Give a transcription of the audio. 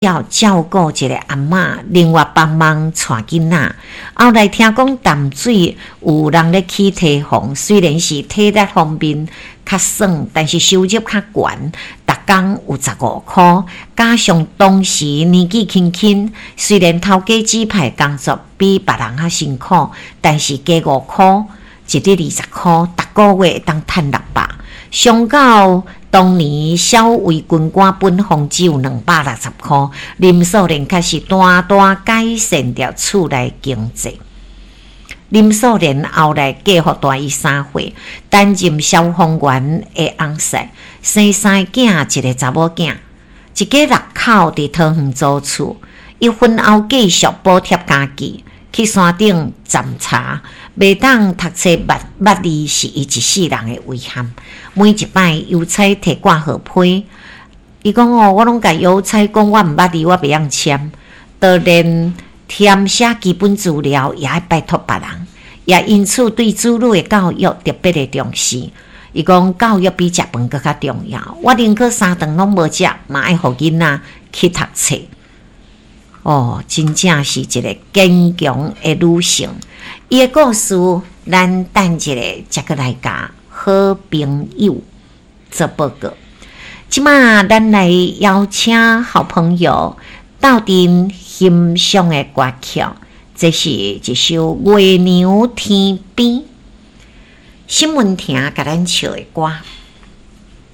照照顧一个阿嬤，另外幫忙帶囡仔。後來聽講淡水有人咧起堤防，雖然是體力方面較耍，但是收入較懸，逐工有15箍。加上當時年紀輕輕，雖然頭家指派工作比別人較辛苦，但是加5箍，一日20箍，逐个月會當趁600。相較當年小衛軍官本俸只有260箍，林素蓮確實大大改善著厝內經濟。林素蓮後來嫁予大伊3歲，擔任消防員的翁婿，生三个囝，一个查某囝，一家六口佇桃園租厝。伊婚後繼續補貼家己，去山頂摘茶，袂當讀冊捌捌字是伊一世人的遺憾。每一擺郵差提掛號批，伊講哦，我攏共郵差講我毋捌字，我袂曉簽，就連填寫基本資料也愛拜託別人，也因此對子女的教育特別的重視。伊講教育比食飯閣較重要，我寧可三頓攏無食，嘛愛予囡仔去讀冊。哦，真正是一个堅強的女性。伊的故事，咱等一下才閣來共好朋友做報告。這馬咱來邀請好朋友鬥陣欣賞的歌曲，這是一首《月娘天邊》，沈文婷共咱唱的歌。